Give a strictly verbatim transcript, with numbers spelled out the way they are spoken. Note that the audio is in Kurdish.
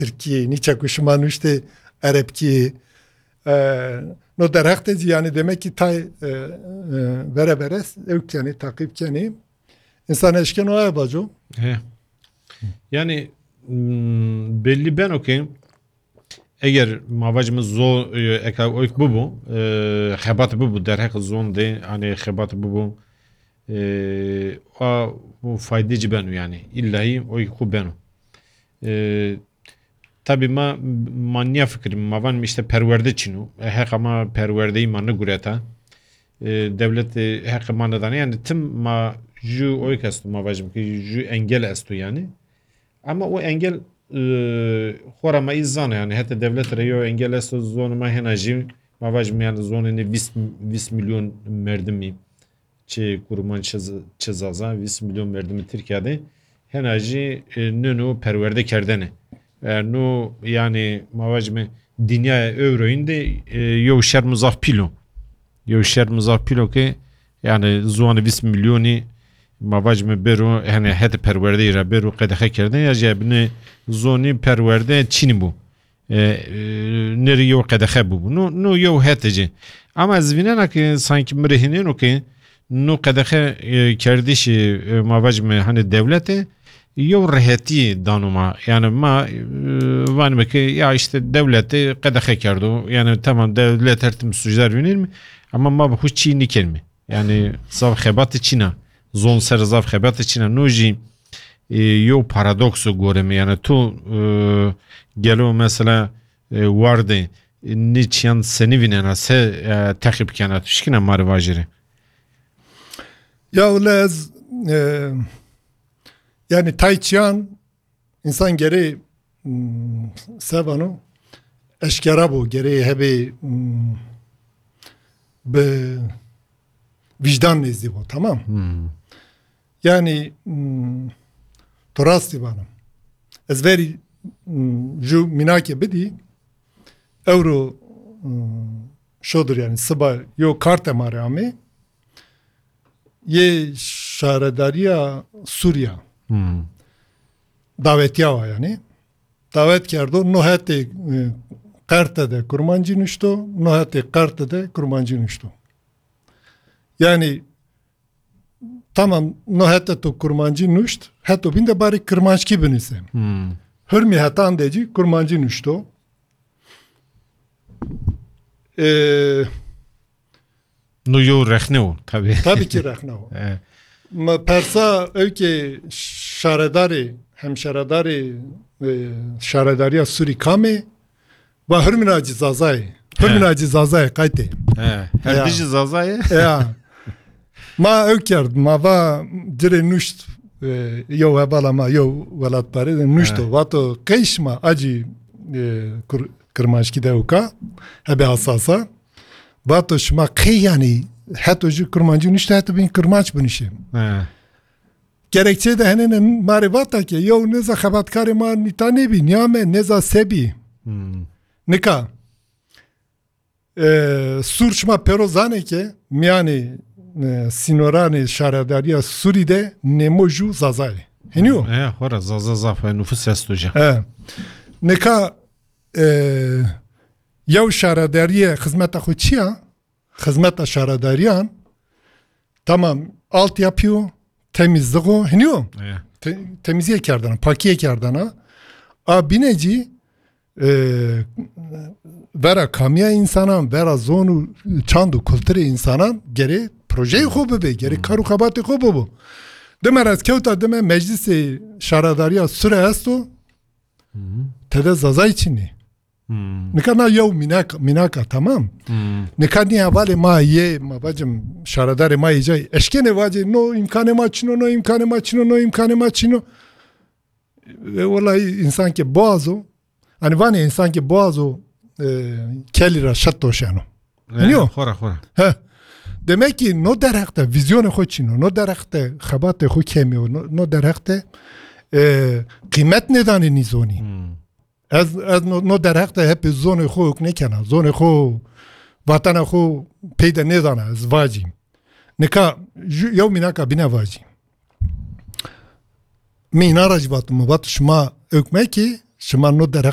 Tirkiyê, nîçe ku şima nuştê Erebkiyê. E, no derheqtê jî, yani demek ki tay, e, e, vere vere ew kenê, taqîb kenê. Însan eşkeno aya baco. He. Yani, mm, belli beno ki eger mavacımız zo, e, eka oyk bubu, e, xebat bubu, derheq zon de, hani xebat bubu, e, a, bu faydeci beno yani. İllahi oyk xu beno. E, tabi ma, ma niya fikirîm, ma van işte perwerde çin o. E, heqa ma perwerdeyî ma nigureta. E, dewlet, e, heqê ma nedane. Yani tim ma ju oyk esto, ma vajim ki ju engel esto yani. Ama o engel, e, xora ma î zane yani. Hete dewlet re yo engel esto, zon ma hena jî, ma vajim yani zonê ne vîst, vîst milyon merdimî. Çi kurmanc, çi z-, çi zaza, vîst milyon merdimî Tirkiye de hena jî, e, nino perwerde kerdene. E, no, yani, ma vajime dinyaya euroyîn de, e, yew şerm zaf pîl o. Yew şerm zaf pîl o ki, yani, ziwanê vîst milyonî, ma vajime bêro, yani, hete perwerdeyî re bêro qedexe kerdene, ya jî binê zonî perwerde çînî bû. E, e, nerî yew qedexe bûbû. No, no yew hete jî. Ama ez vînena ki sanki mi rê hînêno ki no qedexe, e, kerdişî, e, ma vajime hani dewlete yew rehetî dano ma. Yani ma, e, vanime ki ya işte dewlete qedexe kerdo. Yani tamam dewlet her tim sucdar vînîn mi? Ama ma bi xwe çî nîkenîme. Yani zaf xebatê çîna. Zon ser zaf xebatê çîna. No jî, e, yew paradokso gore me. Yani tu, e, gelo mesela, e, wardê, e, nê çiyan senî vînena, se, e, teqîb kena. Tu şikine ma rê vajêrê. Ya wele ez, e, yani tay çiyan Însan gerê, mm, sevano eşkera bo, gerê hebê, mm, bi vîjdan nêzdî bo, tamam? Hmm. Yani, mm, to rastî vana. Ez verî, mm, ju mînakê bidî, ewro, mm, şodir yani siba yo karte ma rê amê, yê şaredariya Sûriya. Hmm. Dawetiya wa yani. Dawet kerdo, no hetê, e, qerte de kurmancî nuşto, no hetê qerte de kurmancî nuşto. Yani, tamam, no hete to kurmancî nuşt, heto bîn de barê kirmanckî binuse. Hmm. Hurmî hetan de jî kurmancî nuşto. E, No yew rexne o, tabii. Tabii ki rexne o. E. Ma persa ew ki şaredarê, hem şaredarê, e, şaredariya Sûrî kamê, va hurmina cî Zazayê. He. Hurmina cî Zazayê qaytê. He. Her Ya. dijî Zazayê? Ya. Ma ew kerd, ma va cirê nuşt, e, yew hevala ma, yew welatparê de nuşto. He. Vato qey şima acî, e, kur-, kirmanckî de ewka, hebe hasasa. Vato şima qey yani heto ji kurmancî nuşte heto bin kirmanc binişê. He. Gerekçe de henene ma rê vata ke yew nêza xebatkarê ma nîta nêbî, niya me nêza se bî. Hmm. Nika, e, Sûr şima pêro zanê ke miyanê, e, sînoranê şaredariya Sûrî de nêmo jû Zaza ye. Heniyo? E, xora Zaza zaf e, nufus esto jî. E. Nika, e, yew şaredariye xizmeta xwe çiya? Xizmeta şaredariyan, tamam, altyapı o, temizlik o, hiniyo? E. Te-, temizliğe kerdana, pakiye kerdana. A bîne jî, e, vera kamiya insanan, vera zon û çand û kulturê insanan gerê projeyê xwe bibe, gerê Hmm. kar û xebatê xwe bibe. Dime ez kewta dime meclisê şaredariya Sûre esto, Hı hı. tede Zazayî çinê. Hmm. Nika na yew mînak, mînaka, tamam. Hmm. Nika nî hevalê ma yê, ma bacim, şaredarê ma yê cayî eşkenê vacê, no îmkanê ma çino, no îmkanê ma çino, no îmkanê ma çino. E, welayi însan ke boğazo, hani vanê însan ke boğazo, e, kelî ra şet doşeno. E, Niyo? Xora, xora. He. Demek ki no derheqte vîzyonê xo çino, no derheqte xebatê xo kemî yo, no, no derheqte, e, qîmet nêdanê nîzonî. Hmm. Ez, ez no, no derheqte hepê zonê xo huk nêkena. Zonê xo, vatena xo peyde nêdana, ez vacî. Nika, ju-, yew mînaka bîne vacî. Min îna ra jî vat, min vat, şima huk mekî, Şima no derheq